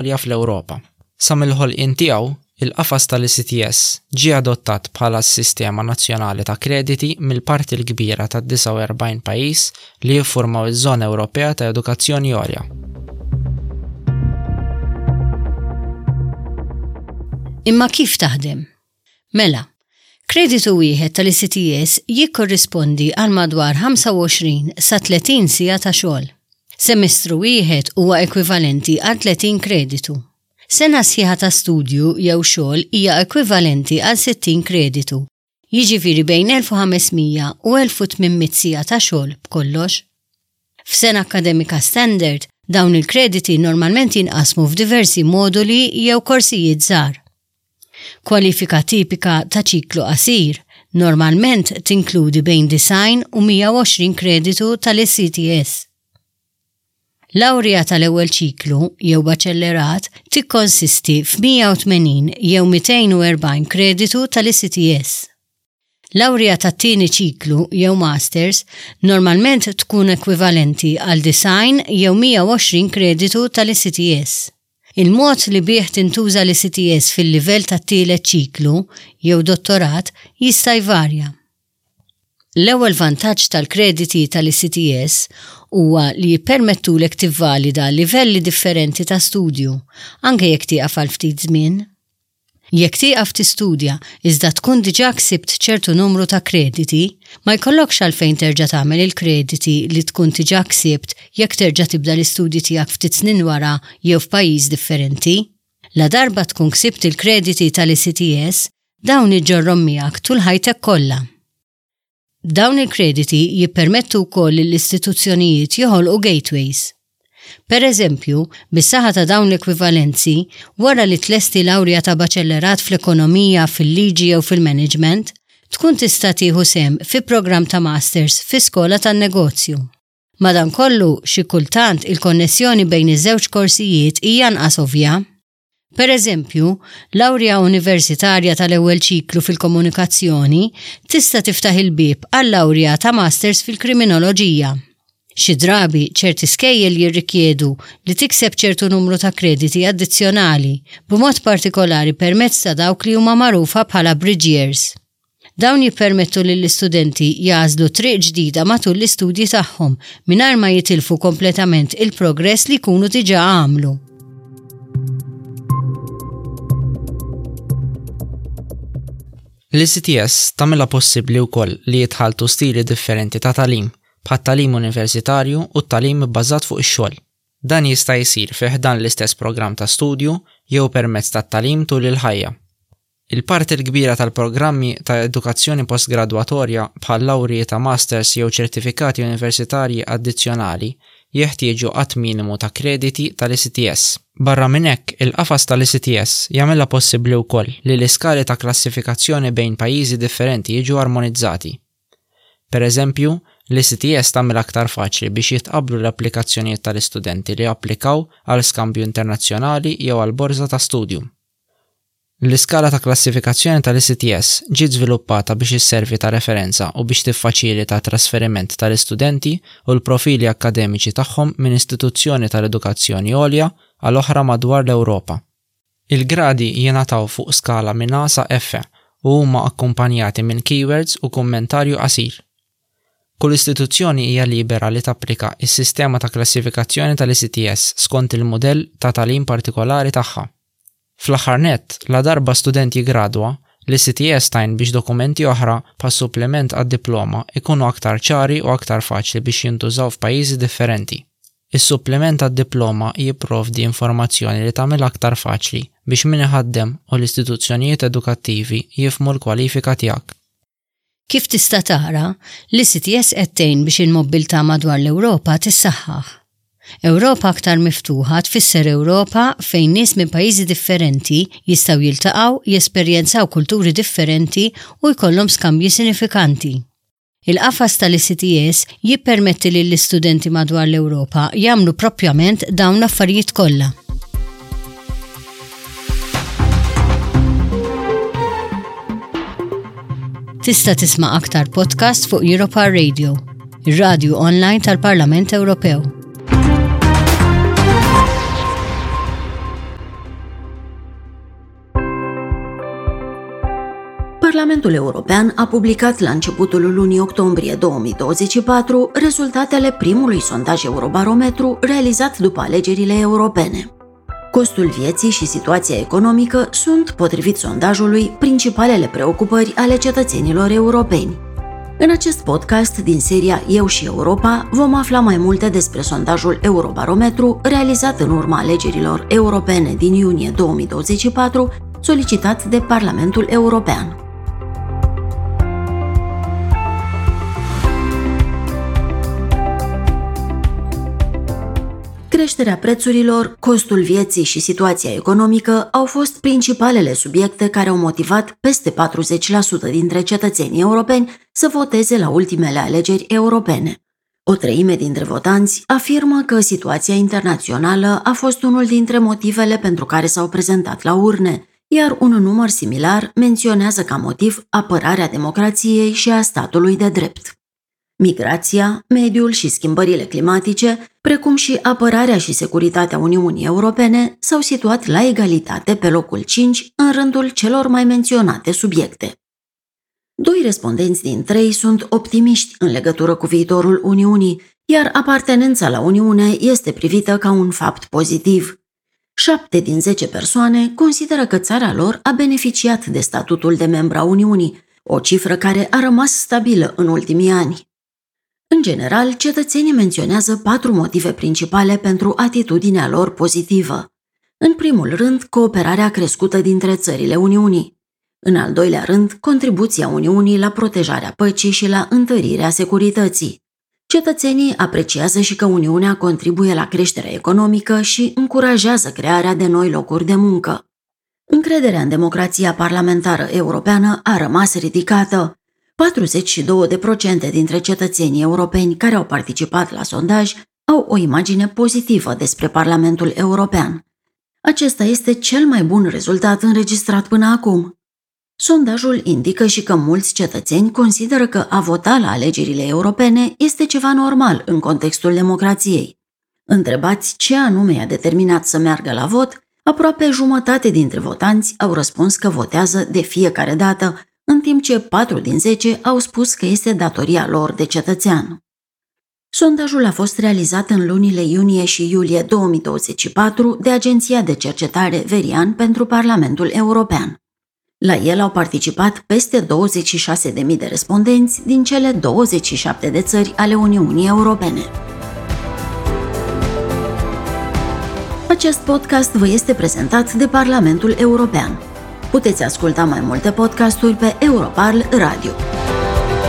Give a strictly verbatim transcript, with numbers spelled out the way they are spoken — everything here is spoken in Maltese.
Għolja fl-Ewropa. Sa mill-ħolqien tiegħu, il-qafas tal-E C T S ġie adottat bħala s-sistema nazzjonali ta' krediti mill-parti l-kbira tad-disgħa u erbgħin pajjiż li jiffurmaw iż-Żona Ewropea ta' Edukazzjoni Għolja. Imma kif taħdem? Mela, kreditu wieħed tal-E C T S jikkorrispondi għal madwar ħamsa u għoxrin sa tletin siegħa ta' xogħol. Semestru wieħed huwa ekwivalenti għal tletin kreditu. Sena sħiħa ta' studju jew xogħol hija ekwivalenti għal sittin kreditu. Jiġifieri bejn elf u ħames mija u elf u tmien mitt siegħa ta' xogħol b'kollox. F'sena akkademika standard, dawn il-krediti normalment jinqasmu f'diversi moduli jew korsijiet żgħar. Kwalifika tipika ta' ċiklu qasir normalment tinkludi bejn disgħin u mija u għoxrin kreditu tal-E C T S. Lawrija tal-ewwel ċiklu jew baċellerat tikkonsisti f'mija u tmenin jew mitejn u erbgħin kreditu tal-E C T S. Lawrija tat-tieni ċiklu jew masters normalment tkun ekwivalenti għal disgħin jew mija u għoxrin kreditu tal-E C T S. Il-mod li bih tintuża l-E C T S fil-livell tat-tielet ċiklu jew dottorat jista' jvarja. L-ewwel vantaġġ tal-krediti tal-E C T S huwa li jippermettulek tivvalida livelli differenti ta' studju, anke jekk tieqaf għal ftit żmien. Jekk tieqaf tistudja iżda tkun diġà ksibt ċertu numru ta' krediti, ma jkollokx għalfejn terġa' tagħmel il-krediti li tkun diġà ksibt jekk terġa' tibda l-istudji tiegħek ftit snin wara jew f'pajjiż differenti. La darba tkun ksibt il-krediti tal-E C T S, dawn iġġorrhom miegħek tul ħajtek kollha. Dawn il-krediti jippermettu wkoll lill-istituzzjonijiet joħolqu gateways. Per eżempju, bis-saħħa ta' dawn l-ekwivalenzi, wara li tlesti lawrja ta' baċellerat fl-ekonomija, fil-liġi jew fil-management, tkun tista' tieħu sehem fi programm ta' masters fi skola tan-negozju. Madankollu, xi kultant il-konnessjoni bejn iż-żewġ korsijiet hija anqas ovvja. Per eżempju, lawrja universitarja tal-ewwel ċiklu fil-komunikazzjoni tista' tiftaħ il-bieb għal lawrja ta' masters fil-kriminoloġija. Xi drabi ċerti skejjel jirrikjedu li tikseb ċertu numru ta' krediti addizzjonali, b'mod partikolari permezz ta' dawk li huma magħrufa bħala bridge years. Dawn jippermettu lill-istudenti jagħżlu triq ġdida matul l-istudji tagħhom mingħajr ma jitilfu kompletament il-progress li jkunu diġà għamlu. L-E C T S tagħmilha possibbli wkoll li jitħalltu stili differenti ta' tagħlim, bħat-tagħlim universitarju u t-tagħlim bbażat fuq ix-xogħol. Dan jista' jsir fi ħdan l-istess programm ta' studju jew permezz tat-tagħlim tul il-ħajja. Il-parti l-kbira tal-programmi ta' edukazzjoni postgradwatorja, bħal lawrji ta' masters jew ċertifikati universitarji addizzjonali, jeħtieġu għadd minimu ta' krediti tal-E C T S. Barra minn hekk, il-qafas tal-E C T S jagħmilha possibbli wkoll li l-iskali ta' klassifikazzjoni bejn pajjiżi differenti jiġu armonizzati. Per eżempju, l-E C T S tagħmel aktar faċli biex jitqablu l-applikazzjonijiet tal-istudenti li applikaw għal skambju internazzjonali jew għal borża ta' studju. L-iskala ta' klassifikazzjoni tal-E C T S ġiet żviluppata biex isservi ta' referenza u biex tiffaċilita trasferiment tal-istudenti u l-profili akkademiċi tagħhom minn istituzzjoni tal-edukazzjoni għolja għal oħra madwar l-Ewropa. Il-gradi jingħataw fuq skala minn A sa F u huma akkumpanjati minn keywords u kummentarju qasir. Kull istituzzjoni hija libera li tapplika is-sistema ta' klassifikazzjoni tal-E C T S skont il-mudell ta' tagħlim partikolari tagħha. Fl-aħħar nett, la darba student jigradwa, l-E C T S tgħin biex dokumenti oħra bħal supplement għad-diploma ikunu aktar ċari u aktar faċli biex jintużaw f'pajjiżi differenti. Is-supplement għad-diploma jipprovdi informazzjoni li tagħmel aktar faċli biex min iħaddem u l-istituzzjonijiet edukattivi jifhmu l-kwalifika tiegħek. Kif tista' tara, l-E C T S qed tgħin biex il-mobilità madwar l-Ewropa tissaħħaħ. Ewropa aktar miftuħa tfisser Ewropa fejn nies minn pajjiżi differenti jistgħu jiltaqgħu, jesperjenzaw kulturi differenti u jkollhom skambji sinifikanti. Il-qafas tal-E C T S jippermetti lill-istudenti madwar l-Ewropa jagħmlu propjament dawn l-affarijiet kollha. Tista' tisma' aktar podcast fuq Europa Radio, ir-radju online tal-Parlament Ewropew. Parlamentul European a publicat la începutul lunii octombrie două mii douăzeci și patru rezultatele primului sondaj Eurobarometru realizat după alegerile europene. Costul vieții și situația economică sunt, potrivit sondajului, principalele preocupări ale cetățenilor europeni. În acest podcast din seria Eu și Europa vom afla mai multe despre sondajul Eurobarometru realizat în urma alegerilor europene din iunie două mii douăzeci și patru, solicitat de Parlamentul European. Creșterea prețurilor, costul vieții și situația economică au fost principalele subiecte care au motivat peste patruzeci la sută dintre cetățenii europeni să voteze la ultimele alegeri europene. O treime dintre votanți afirmă că situația internațională a fost unul dintre motivele pentru care s-au prezentat la urne, iar un număr similar menționează ca motiv apărarea democrației și a statului de drept. Migrația, mediul și schimbările climatice, precum și apărarea și securitatea Uniunii Europene, s-au situat la egalitate pe locul cinci în rândul celor mai menționate subiecte. Doi respondenți din trei sunt optimiști în legătură cu viitorul Uniunii, iar apartenența la Uniune este privită ca un fapt pozitiv. Șapte din zece persoane consideră că țara lor a beneficiat de statutul de membru a Uniunii, o cifră care a rămas stabilă în ultimii ani. În general, cetățenii menționează patru motive principale pentru atitudinea lor pozitivă. În primul rând, cooperarea crescută dintre țările Uniunii. În al doilea rând, contribuția Uniunii la protejarea păcii și la întărirea securității. Cetățenii apreciază și că Uniunea contribuie la creșterea economică și încurajează crearea de noi locuri de muncă. Încrederea în democrația parlamentară europeană a rămas ridicată. patruzeci și două la sută dintre cetățenii europeni care au participat la sondaj au o imagine pozitivă despre Parlamentul European. Acesta este cel mai bun rezultat înregistrat până acum. Sondajul indică și că mulți cetățeni consideră că a vota la alegerile europene este ceva normal în contextul democrației. Întrebați ce anume i-a determinat să meargă la vot, aproape jumătate dintre votanți au răspuns că votează de fiecare dată, în timp ce patru din zece au spus că este datoria lor de cetățean. Sondajul a fost realizat în lunile iunie și iulie două mii douăzeci și patru de Agenția de Cercetare Verian pentru Parlamentul European. La el au participat peste douăzeci și șase de mii de respondenți din cele douăzeci și șapte de țări ale Uniunii Europene. Acest podcast vă este prezentat de Parlamentul European. Puteți asculta mai multe podcasturi pe Europarl Radio.